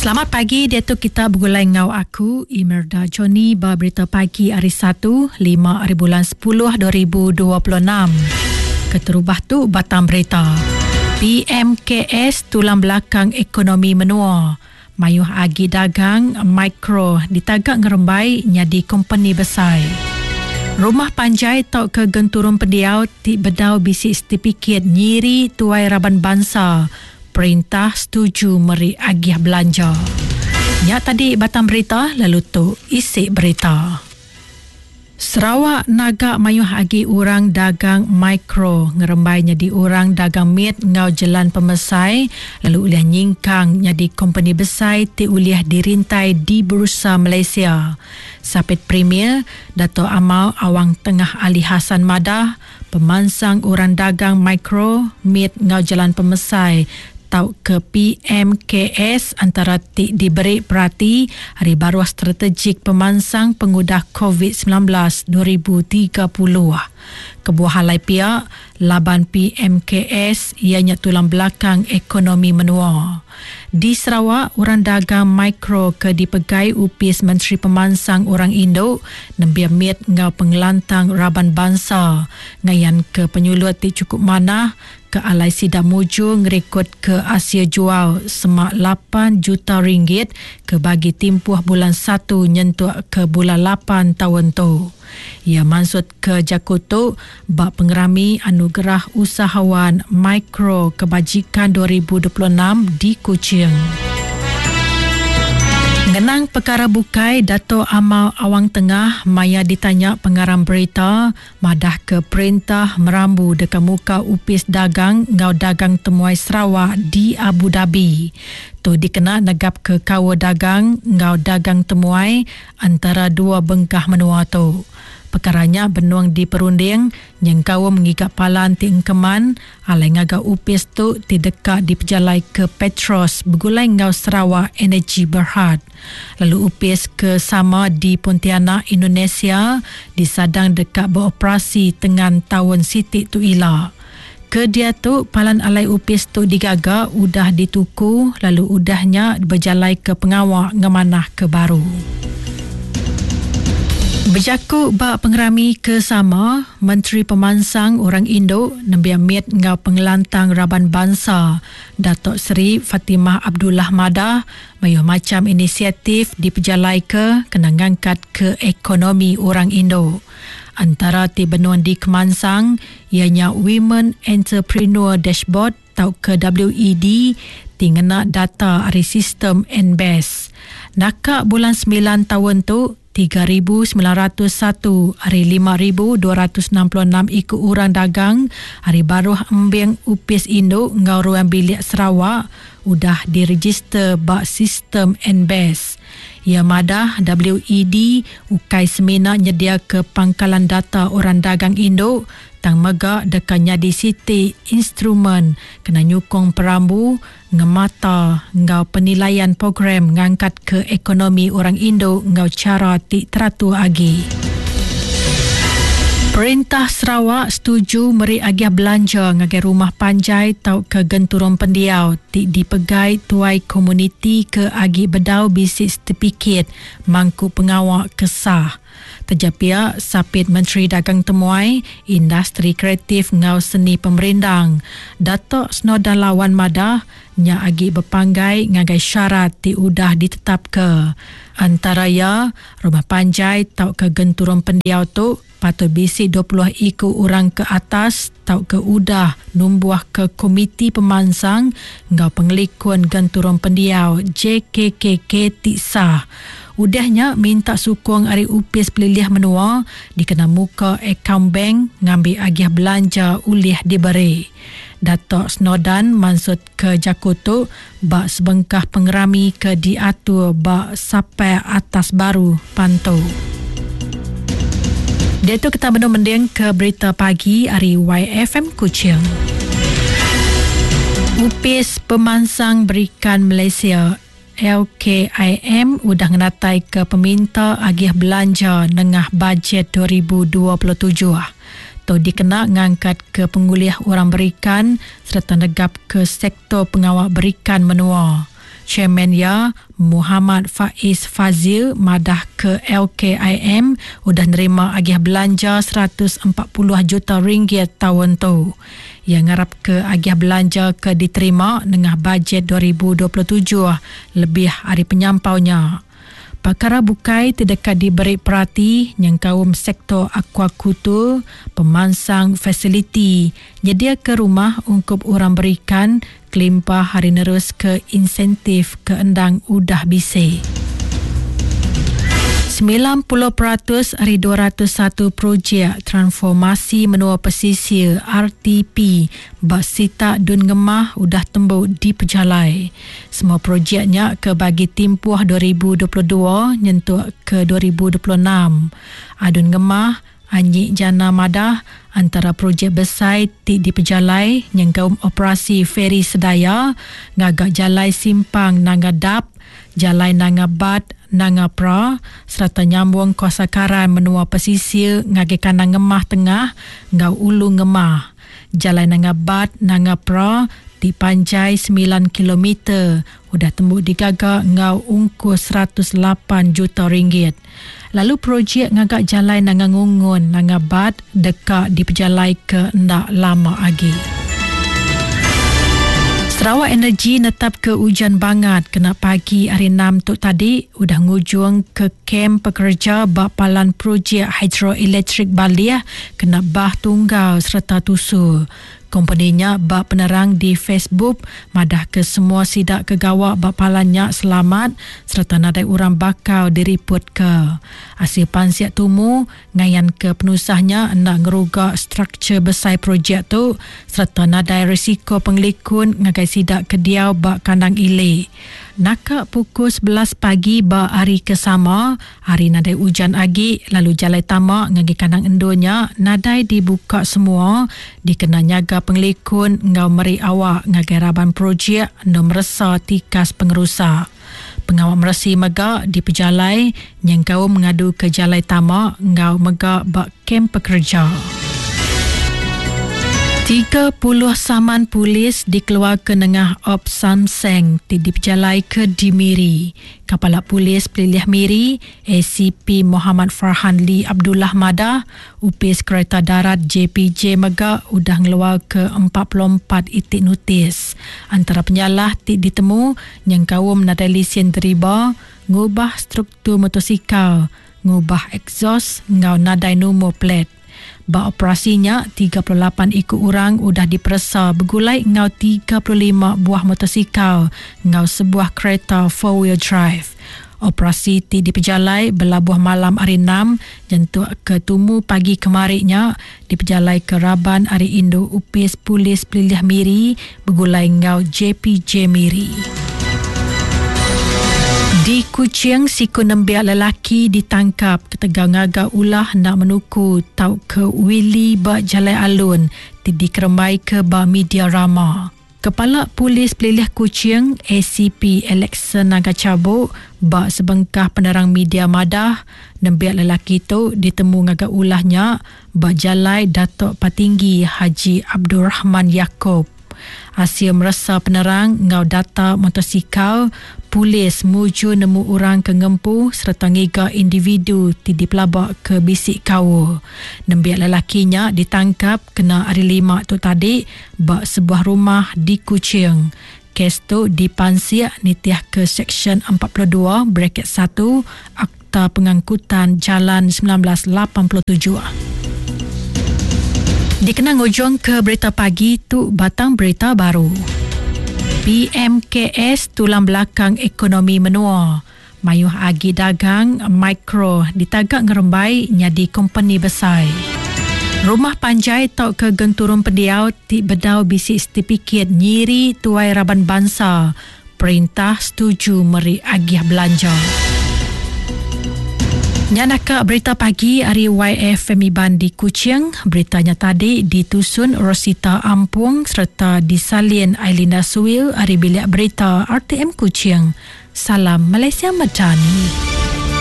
Selamat pagi diatu kita begulai enggau aku Imerda Johnny ba berita pagi hari Satu, 5 hari bulan 10 2026. Keterubah tu batang berita. PMKS tulang belakang ekonomi menua. Mayuh agi dagang mikro ditaga ngerembai nyadi kompeni besai. Rumah panjai tauka genturung pendiau ti bedau bisi setipikit nyiri tuai raban bansa Perintah setuju meri agih belanja. Nya tadi batang berita lalu tu isi berita. Sarawak naga mayuh agi orang dagang mikro ngerembai nyadi orang dagang mit enggau jelan pemesai lalu ulih nyingkang nyadi kompeni besai ti ulih dirintai di Bursa Malaysia. Sapit Premier, Datuk Amar Awang Tengah Ali Hasan madah, Pemansang Orang Dagang Mikro, Mit enggau Jelan Pemesai tauka PMKS antara ti diberi perati ari baruh Strategik Pemansang Pengudah Covid 19 2030. Kebuah alai pia, laban PMKS iya nya tulang belakang ekonomi menua. Di Sarawak, orang dagang mikro ke dipegai Opis Menteri Pemansang Orang Indu, Nembiak Mit enggau Pengelantang Raban Bansa ngayanka penyulut ti chukup manah ke alai sida mujur ngerikodka asil jual semak lapan juta ringgit ke bagi timpuh bulan Satu nyentuk ke bulan Lapan taun tu. Iya mansutka jaku tu ba Pengerami Anugerah Usahawan Mikro Kebajikan 2026 di Kuching. Ngenang pekara bukai, Datuk Amar Awang Tengah maya ditanya pengarang berita madahka perintah merambu deka muka Opis Dagang enggau Dagang Temuai Sarawak di Abu Dhabi. Tu dikena negapka kaul dagang enggau dagang temuai entara dua bengkah menua tu. Pekara nya benung diperunding nyengkaum ngiga palan ti engkeman alai ngaga opis tu ti deka dipejalaika Petros begulai enggau Sarawak Energy Berhad. Lalu opis ke sama di Pontianak, Indonesia disadang deka beoperasi tengan taun siti tu ila. Ke diatu, palan alai opis tu digaga udah dituku lalu udah nya bejalaika pengawa ngemanahka baru. Bejaku ba pengerami ke sama, Menteri Pemansang Orang Indu, Nembiak Mit enggau Pengelantang Raban Bansa, Datuk Seri Fatimah Abdullah madah, mayuh macham inisiatif dipejalaika kena ngangkatka ekonomi orang indu. Antara ti benung dikemansang iya nya Women Entrepreneur Dashboard tauka WED ti ngena data ari sistem NBES. Naka bulan semilan taun tu, 3901 ari 5266 iku orang dagang ari baruh embing Opis Indu enggau Ruang Bilik Sarawak udah direjister ba sistem NBES. Iya madah WED ukai semina nyediaka pangkalan data orang dagang indu tang mega deka nyadi siti instrumen kena nyukung perambu, ngemata enggau penilaian program ngangkatka ekonomi orang indu enggau chara ti teratur agi. Perintah Sarawak setuju meri agih belanja ngagai rumah panjai tauka genturung pendiau ti dipegai tuai komuniti ke agi bedau bisi setipikit mangku pengawa ke sah. Taja pia, Sapit Menteri Dagang Temuai, Industri Kreatif enggau Seni Pemerindang, Datuk Snowdan Lawan madah, nya agi bepanggai ngagai syarat ti udah ditetapka. Antara iya, rumah panjai tauka genturung pendiau tu patut bisi 20 iku orang ke atas tauka udah numbuhka Komiti Pemansang enggau Pengelikun Genturung Pendiau, JKKK, ti sah. Udah nya minta sukung ari Opis Pelilih Menua dikena muka akaun bank ngambi agih belanja ulih diberi. Datuk Snowdan mansutka jaku tu ba sebengkah pengerami ke diatur ba Sapai Atas Baru, Pantu. Diatu kita benung mendingka berita pagi ari YFM Kuching. Opis Pemansang Berikan Malaysia, LKIM, udah ngenataika peminta agih belanja nengah Bajet 2027. Tu dikena ngangkatka pengulih orang berikan sereta negapka sektor pengawa berikan menua. Chairman iya, Muhammad Faiz Fazil madah ke LKIM udah nerima agih belanja 140 juta ringgit taun tu. Iya ngarapka agih belanja ke diterima nengah Bajet 2027 lebih ari penyampau nya. Pekara bukai ti deka diberi perati nyengkaum sektor akuakultur, pemansang fasiliti, nyediaka rumah ungkup orang berikan kelimpah ari neruska insentif ke endang udah bisi. 90% ari 201 projek Transformasi Menua Pesisir, RTP, ba sitak Dun Ngemah udah tembu dipejalai. Semua projek nya ke bagi timpuh 2022 nyentuk ke 2026. Adun Ngemah, Anyik Jana madah, antara projek besai ti dipejalai nyengkaum operasi feri Sedaya, ngaga jalai simpang Nanga Dap, jalai Nanga Bat, Nanga Pra sereta nyambung kuasa karan menua pesisir ngagai kandang Ngemah Tengah enggau Ulu Ngemah. Jalai Nanga Bat, Nanga Pra ti panjai semilan kilometer udah tembu digaga enggau ungkus 108 juta ringgit. Lalu projek ngaga jalai Nanga Ngungun, Nanga Bat deka dipejalaika enda lama agi. Sarawak Energy netapka ujan bangat kena pagi hari Enam tu tadi udah ngujungka kem pekereja ba palan projek hidroelektrik Baleh kena bah tunggal sereta tusur. Kompeni nya ba penerang di Facebook madahka semua sida ke gawa ba palan nya selamat sereta nadai orang bakal diripotka. Asil pansik tumu ngayanka penusah nya enda ngeruga struktur besai projek tu sereta nadai risiko pengelikun ngagai sida ke diau ba kandang ili. Naka pukul 11 pagi ba hari ke sama, hari nadai ujan agi lalu jalai tama ngagai kandang endur nya nadai dibuka semua dikena nyaga pengelikun enggau meri awak ngagai raban projek endur meresa tikas pengerusak. Pengawa meresi mega dipejalai nyengkaum ngaduka jalai tama enggau mega ba kem pekereja. 30 saman polis dikeluarka nengah Op Samseng ti dipejalaika di Miri. Kepala Polis Pelilih Miri, ACP Mohamad Farhan Lee Abdullah madah, Opis Kereta Darat JPJ mega udah ngeluarka 44 iti notis. Antara penyalah ti ditemu nyengkaum nadai lisin deriba, ngubah struktur motosikal, ngubah ekzos enggau nadai numur plat. Ba operasi nya, 38 iku orang udah diperesa begulai enggau 35 buah motosikal enggau sebuah kereta four-wheel drive. Operasi ti dipejalai belabuh malam Hari Enam nyentuk ke tumu pagi kemari nya dipejalaika raban ari Indu Opis Polis Pelilih Miri begulai enggau JPJ Miri. Di Kuching, siku nembiak lelaki ditangkap ketegal ngaga ulah enda menuku tauka wheelie ba jalai alun ti dikerembaika ba media rama. Kepala Polis Pelilih Kuching, ACP Alexson Naga Chabok ba sebengkah penerang media madah, nembiak lelaki tu ditemu ngaga ulah nya ba Jalai Datuk Patinggi Haji Abdul Rahman Yaakob. Asil meresa penerang enggau data motosikal, polis mujur nemu orang ke ngempu sereta ngiga individu ti dipelaba ke bisi kaul. Nembiak lelaki nya ditangkap kena Hari Lima tu tadi ba sebuah rumah di Kuching. Kes tu dipansik nitihka Seksyen 42 braket satu Akta Pengangkutan Jalan 1987. Dikena ngujungka berita pagi tu batang berita baru. PMKS tulang belakang ekonomi menua. Mayuh agi dagang mikro ditaga ngerembai nyadi kompeni besai. Rumah panjai tauka genturung pendiau ti bedau bisi setipikit nyiri tuai raban bansa, perintah setuju meri agih belanja. Nya naka berita pagi ari YFM Iban di Kuching. Berita nya tadi ditusun Rosita Ampung sereta disalin Ailinda Suil ari Bilik Berita RTM Kuching. Salam Malaysia Madani.